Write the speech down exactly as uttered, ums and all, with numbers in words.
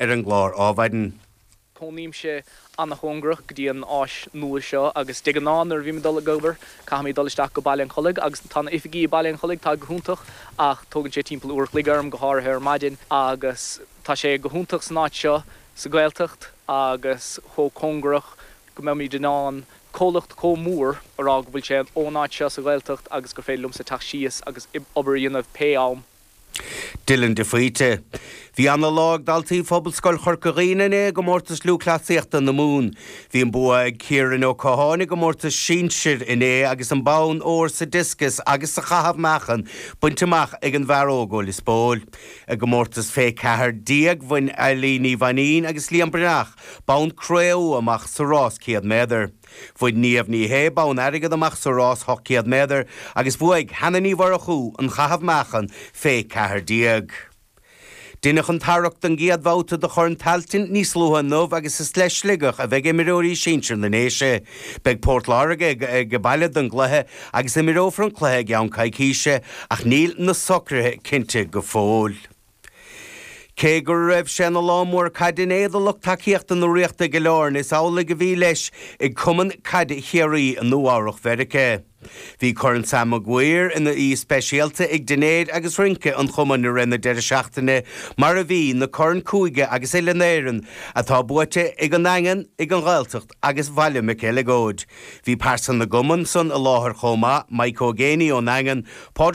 ar an gclár Adhmhaidin. Cónaímse an-chóngarach go dtí an áis nua seo agus de ghnáth nuair a bhím ag dul ag obair caithfidh mé dul isteach go Baile an Chollaigh agus tá na oifigí i Baile an Chollaigh tá go hiontach ach tógann sé timpeall uair an chloig orm go háirithe ar maidin agus tá sé go hiontach san áit seo sa Ghaeltacht agus chomh cóngarach go mbeimid in ann comhlacht chomh mór a rá go bhfuil sé ón áit seo sa Ghaeltacht agus gur féidir liomsa teacht síos agus obair a dhéanamh pé am. Dylan de Faoite. Bhí an-lá ag daltaí Phobalscoil Chorca Dhuibhne inné i gcomórtas lúthchleasaíochta na Mumhan. Bhí an bua ag Ciaran Ó Catháin i gcomórtas sinsir inné agus an bonn óir sa discus agus sa chaitheamh meáchan bainte amach ag an bhfear óg ó Lios Póil. I gcomórtas fé ceathair déag bhain Eileen Ní Mhainín agus Liam Breathnach bonn cré-umha amach sa rás céad méadar. Bhain Niamh Ní Shé bonn airgid amach sa rás ocht céad méadar agus bhuaigh Hannah Ní Mhurchú an caitheamh meáchan fé ceathair déag. Deineadh an tarrac don gcéad bhabhta de Chorn Tailteann níos luaithe inniu agus is le Sligeach a bheidh imreoirí sinsir na nDéise. Beidh Port Láirge ag, ag baile don gcluiche agus imreofar an cluiche i gceann coicíse ach níl na socruithe cinnte go fóill. Cé go raibh sé ina lá mór caide inné do lucht tacaíochta na Ríochta go leor is amhlaidh a bhí leis ag Cumann Caide Chiarraí i Nua-Eabhrac Mheiriceá. Bhí Corn Sam Maguire ina oíche speisialta ag dinnéar agus rince an chumainn i rith na deireadh seachtaine mar a bhí na Corn Cúige agus Uile na hÉireann atá buaite ag an Daingean, ag an Ghaeltacht agus Bhaile Mhic Eileagóid. Bhí pearsa na gcumann san i láthair chomh maith, Mike Ó Géiní ón Daingean, Pádraig